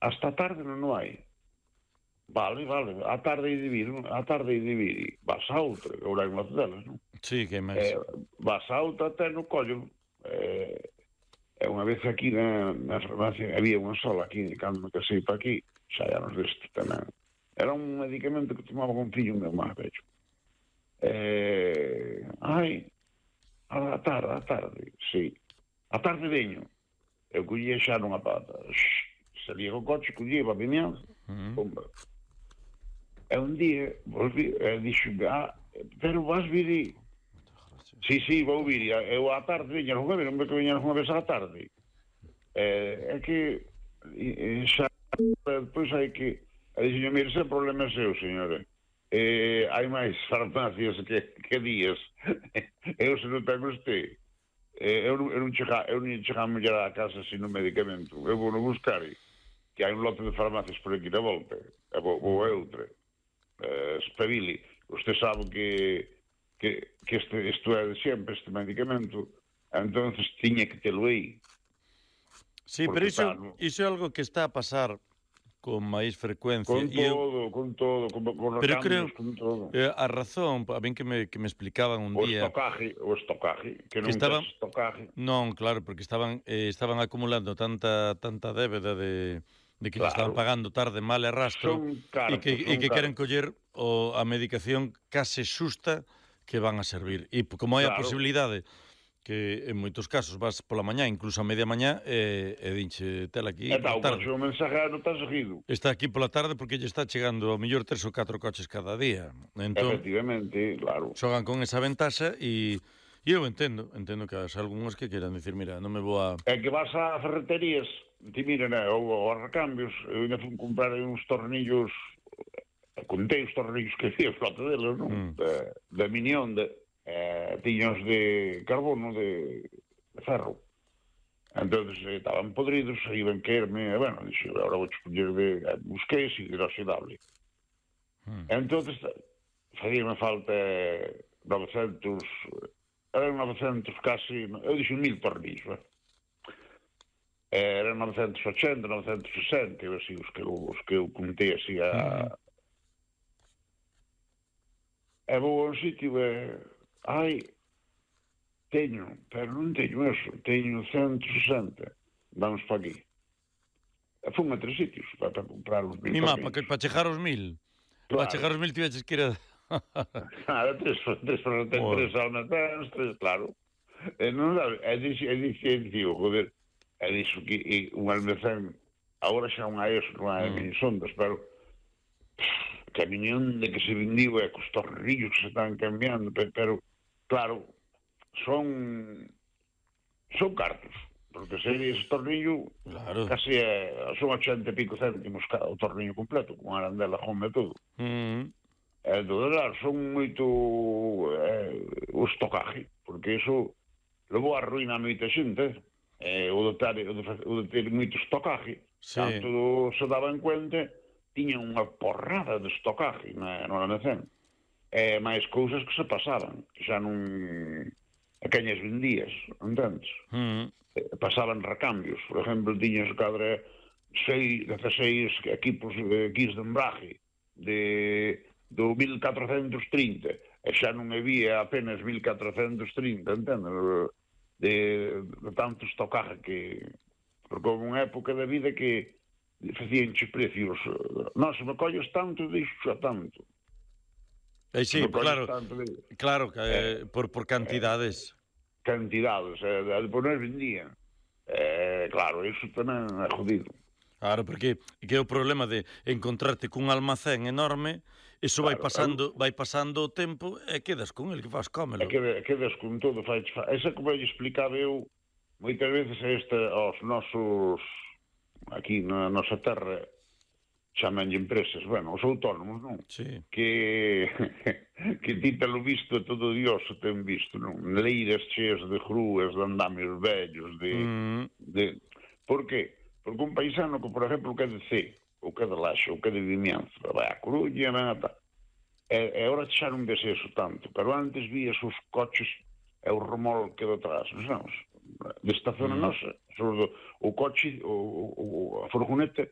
hasta a tarde non hai. Vale, a tarde hai de vir, vas a outra, agora hai unhas delas, non? Sí, que máis. Vas a outra até no collo. Unha vez aquí na farmacia había unha sola aquí, cando me casei para aquí, xa hai anos deste tamén. Era un medicamento que tomaba con fillo meu máis vello. A tarde, sí. A tarde veño. Eu collía xa nunha pata. Salía co coche, collía para Vimianzo, pumba. E un día volví, dixo, pero vas vir. Sí, vou vir. Eu á tarde veña non me que veña unha vez á tarde. É que xa depois hai que... Dixo, mire, ese problema é seu, señora. Hai máis farmacias que días. Eu se non ten usted. Eu non chega a mulher á casa sin un medicamento. Eu vou non buscar, que hai un lote de farmacias por aquí na volta. Vou a outra. Espabili. Usted sabe que isto é de sempre, este medicamento. Entonces tiña que telo aí. Sí, pero iso é algo que está a pasar con máis frecuencia. Con todo, pero creo, con todo. A razón, a min que me explicaban un día... O estocaje, que non tes estocaje. Non, claro, porque estaban acumulando tanta débeda de que claro, estaban pagando tarde, mal e rastro, e que queren coller a medicación case xusta que van a servir. E como hai a posibilidade que en moitos casos vas pola mañá, incluso a media mañá, e dinche tela aquí pola tarde. O mensajero está seguido. Está aquí pola tarde porque lle está chegando ao mellor 3 ou 4 coches cada día. Entón, efectivamente, claro. Xogan con esa ventaxa e eu entendo que hai algúns que queran dicir, mira, non me vou a... É que vas a ferreterías, ti miren, ou a recambios, eu ainda fui comprar uns tornillos, contei os tornillos que había flota deles, non? Da Minión, tiños de carbono, de ferro. Entonces estaban podridos, iban caerme, bueno, dixo, agora vou escoller busquei ese hidroxidable. Entonces, facíame falta 900, eran 900 casi, eu dixo 1000 tornillos, eran 980, 960, así, os que eu contei así a... E vou a un sitio pero non teño eso, teño 160, vamos para aquí. E fun a 3 sitios para comprar os 1000 tornillos. Para chegar aos 1000? Claro. Para chegar aos 1000 tiveches que ir a... tres almacenes, claro. Non sabe, dixo, joder, dixo que un almacén, agora xa non hai eso, non hai sondas, pero que a minión de que se vendiu é cos tornillos que se están cambiando, pero, claro, son cartos, porque se ese tornillo casi son 80 e pico céntimos o tornillo completo, con arandela, jome e todo. Entón, claro, son moito o estocaje, porque iso levou a ruína a moita xente, o de ter moito estocaje, tanto se daba en cuenta, tiña unha porrada de estocaje no almacén, máis cousas que se pasaban, que xa non... a queñas vendías, entendes? Pasaban recambios, por exemplo, tiñas cadra 16 equipos de embrague do 1430, e xa non había apenas 1430, entendes? De tanto estocaje que... Porque houve unha época da vida que facíanche precios. Non, se me colles tanto, dixo xa tanto. Sí, claro, por cantidades. Cantidades, depois non vendían. Claro, iso tamén é jodido. Claro, porque que é o problema de encontrarte cun almacén enorme, iso vai pasando o tempo e quedas con el, que faz cómelo. Quedas con todo. Esa como eu explicaba eu, moitas veces aos nosos, aquí na nosa terra, chamanlle empresas, bueno, os autónomos, non? Sí. Que ti telo visto, todo Dios o ten visto, non? Leiras cheas de grúas, de andamios vellos, Por que? Porque un paisano que, por exemplo, que é de C, ou que é de Laxe, ou que é de Vimianzo, vai a Coruña, e agora xa non ves eso tanto, pero antes vías os coches e o remolque detrás, non? Desta zona nosa, o coche, a furgoneta,